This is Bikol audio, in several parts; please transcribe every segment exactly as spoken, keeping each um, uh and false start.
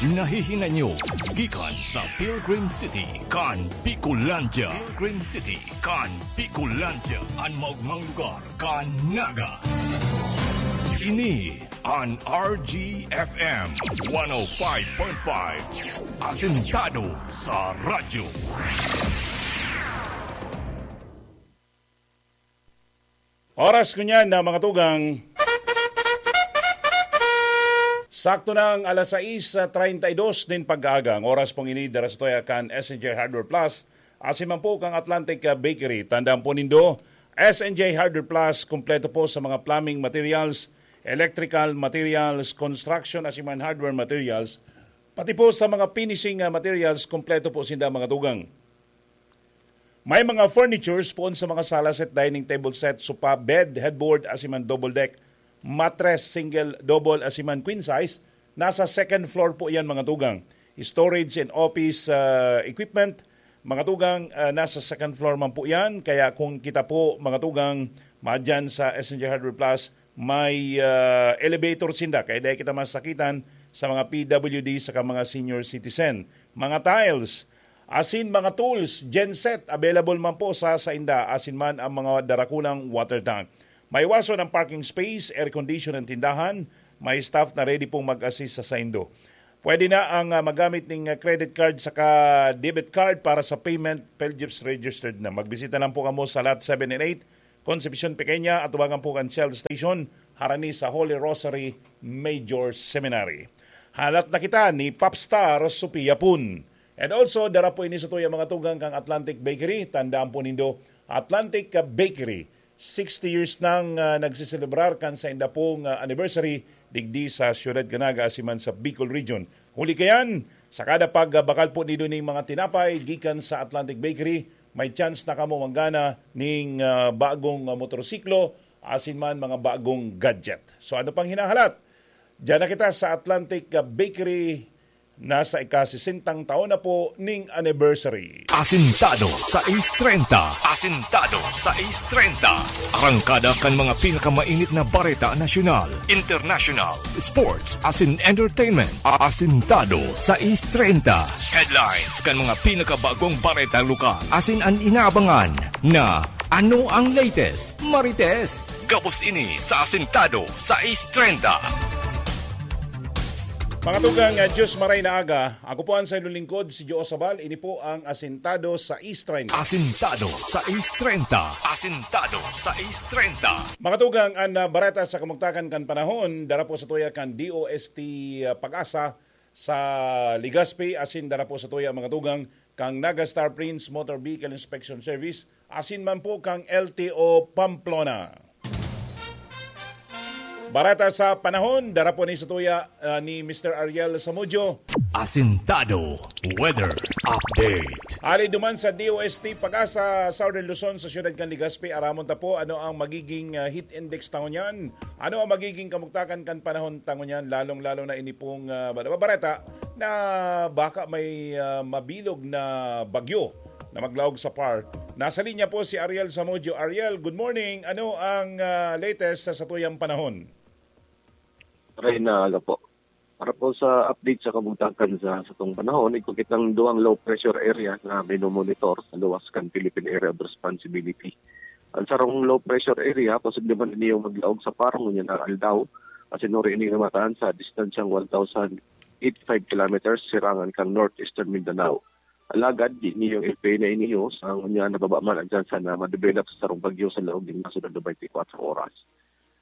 Nahihinay nyo gikan sa Pilgrim City kan Bicolandia. Pilgrim City kan Bicolandia, an maogmang lugar kan Naga. Ini an R G F M one oh five point five, asentado sa radyo. Oras ngunyan na, mga tugang, sakto na ang alas sais treinta y dos nin pag-aaga. Ang oras pong ini dara sa tuya kan S N J Hardware Plus, asin man po kang Atlantic, ah, Bakery. Tandaan po nindo, S N J Hardware Plus, kompleto po sa mga plumbing materials, electrical materials, construction, asin man hardware materials, pati po sa mga finishing, ah, materials, kompleto po sinda, mga tugang. May mga furnitures poon sa mga sala set, dining table set, sofa, bed, headboard, asin man double deck, mattress, single, double, asin man queen size. Nasa second floor po yan, mga tugang. Storage and office, ah, equipment, mga tugang, ah, nasa second floor man po yan. Kaya kung kita po, mga tugang, madyan sa S N J Hardware Plus, may, ah, elevator sinda. Kaya dahil kita masakitan sa mga P W D saka mga senior citizen. Mga tiles, asin mga tools, genset, available man po sa sainda, asin man ang mga darakulang water tank. May wason ang parking space, air condition ang tindahan, may staff na ready pong mag-assist sa saindo. Pwede na ang, ah, magamit ning, ah, credit card saka debit card para sa payment, PhilGift registered na. Magbisita lang po kamo sa Lot seven and eight, Concepcion Pequeña, atubangan po kan Shell Station, harani sa Holy Rosary Major Seminary. Halat na kita ni Popstar Sophia Pun. And also, dara po ini sa tuya, mga tugang, kang Atlantic Bakery. Tandaan po nindo, Atlantic, ah, Bakery, sixty years nang, ah, nagseselebrar kan sainda pong, ah, anniversary digdi sa Siyudad kan Naga asin man sa Bicol Region. Huli kayan, sa kada pagbakal po nindo ning mga tinapay gikan sa Atlantic Bakery, may chance na kamo manggana ning, ah, bagong, ah, motorsiklo asin man mga bagong gadget. So, ano pang hinahalat? Diyan na kita sa Atlantic, ah, Bakery, nasa ika-sesentang taon na po ning anniversary. Asintado sa East treinta. Asintado sa East treinta. Arangkada kan mga pinakamainit na bareta nasyonal, international, sports, asin entertainment. Asintado sa East treinta. Headlines kan mga pinakabagong bareta lokal. Asin an inaabangan na ano ang latest, Marites. Gabos ini sa Asintado sa East treinta. Mga tugang, ah, Diyos maray na aga. Ako po ang saiyong lingkod, si Joe Sabal. Ini po ang Asintado sa East treinta. Asintado sa East treinta. Asintado sa East treinta. Mga tugang, ang, ah, bareta sa kamugtakan kan panahon, dara po sa tuya kan D O S T, ah, Pag-asa sa Legazpi, asin dara po sa tuya, mga tugang, kang Naga Star Prince Motor Vehicle Inspection Service, asin man po kang L T O Pamplona. Bareta sa panahon, dara po ni sa tuya, ah, ni Mister Ariel Samudio. Asintado Weather Update. Hali duman sa D O S T Pag-asa, Southern Luzon, sa siyudad kan Legazpi, aramon ta po ano ang magiging, ah, heat index ta ngunyan. Ano ang magiging kamugtakan kan panahon ta ngunyan, lalong-lalo na ini pong, ah, bareta na baka may, ah, mabilog na bagyo na maglaog sa PAR. Nasa linya po si Ariel Samudio. Ariel, good morning. Ano ang, ah, latest sa satuyang panahon? Reyna, aga po. Para po sa update sa kabugtakan sa satong panahon, igwa kitang duwang low pressure area na minomonitor sa luwas kan Philippine Area of Responsibility. Ang sarong low pressure area, posible man ini yung maglaog sa PAR ngunyan na aldaw, asin uri ini na mataan sa distansyang one thousand eighty-five kilometers sirangan kang northeastern Mindanao. Alagad, di niyo i-pay na iniyo sa ngunyan na baba man ang tsansa na madevelop sa sarong bagyo sa laog nin masunod na twenty-four oras.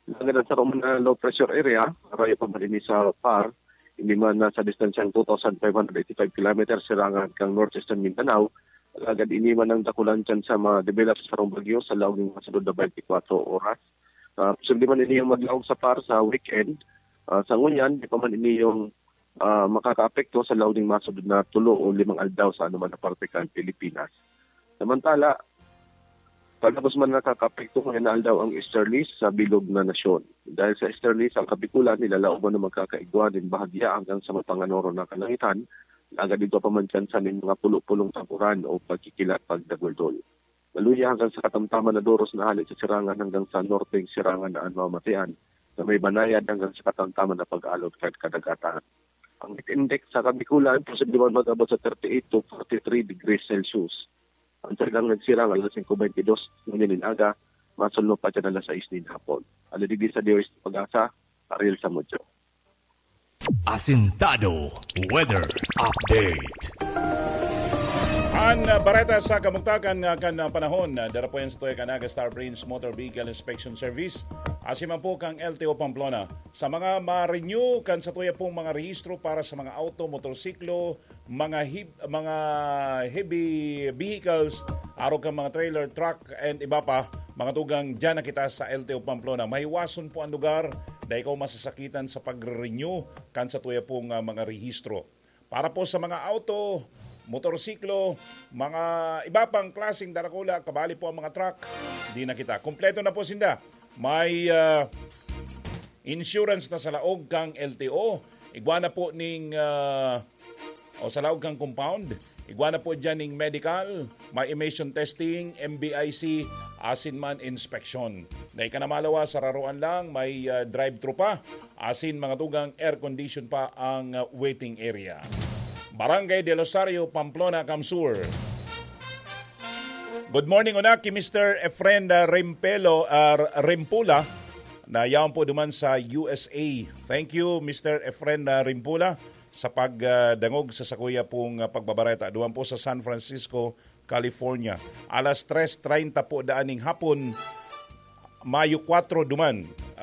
Alagad ang sarong mga low pressure area, rayo pa man ini sa PAR, ini man nasa distansyang two thousand five hundred eighty-five kilometers sirangan kang northeastern Mindanao, alagad ini man ang dakulang tsansa ma-develop sa sarong bagyo sa laog nin masunod na twenty-four oras. Ah, posible man ini yung maglaog sa PAR sa weekend. Ah, sa ngunyan, di pa man ini yung, ah, makakaapekto sa laog nin masunod na tulo o limang aldaw sa anuman na parte kan Pilipinas. Samantala, palabos man nakakaapekto ngayon na aldaw ang easterlies sa bilog na nasyon. Dahil sa easterlies, ang Kabikulan nilalaoban na magkakaigwa nin bahagya hanggang sa mapanganoro na kalangitan, alagad igwa pa man tsansa nin mga pulo-pulong tag-uran o pagkikilat pagdaguldol. Maluya hanggang sa katamtaman na doros na hale sa sirangan hanggang sa norteng sirangan na an mamamatean, na may banayad hanggang sa katamtaman na pag-alon kan kadagatan. Ang heat index sa Kabikulan, posible man mag-abot sa thirty-eight to forty-three degrees Celsius. Ang talagang nagsirang alas singko beintidos ngayon nin aga, masunod pa dyan alas sais nin hapon. Ano digdi sa D O S T Pag-asa, Ariel Samudyo. Asintado Weather Update. An uh, bareta sa kamugtakan nga kan uh, panahon, uh, dara po yan sa tuya kan Naga Star Prince Motor Vehicle Inspection Service. Asi man po kang L T O Pamplona. Sa mga ma-renew kan sa tuya pong mga rehistro para sa mga auto, motorsiklo, mga hib- mga heavy vehicles, arog kan mga trailer, truck, and iba pa, mga tugang, dyan na kita sa L T O Pamplona. Mahiwason po ang lugar na ikaw masasakitan sa pagre-renew kan sa tuya pong uh, mga rehistro. Para po sa mga auto, motorsiklo, mga iba pang klaseng darakula, kabali po ang mga truck, di na kita. Kompleto na po sinda. May uh, insurance na sa laog kang L T O. Igwa na po ning uh, o sa laog kang compound. Igwa na po dyan ning medical, may emission testing, M B I C, asin man inspeksyon. Dai ka na malawa, sararoan lang, may uh, drive-thru pa, asin mga tugang air condition pa ang uh, waiting area. Barangay del Rosario, Pamplona, Kamsur. Good morning, una ki Mister Efren uh, Rempelo, uh, Rempula, na yaon po duman sa U S A. Thank you, Mister Efren uh, Rempula, sa pagdangog sa sakuya pong uh, pagbabareta. Duman po sa San Francisco, California. Alas tres treinta po daan ning hapon, Mayo kwatro duman.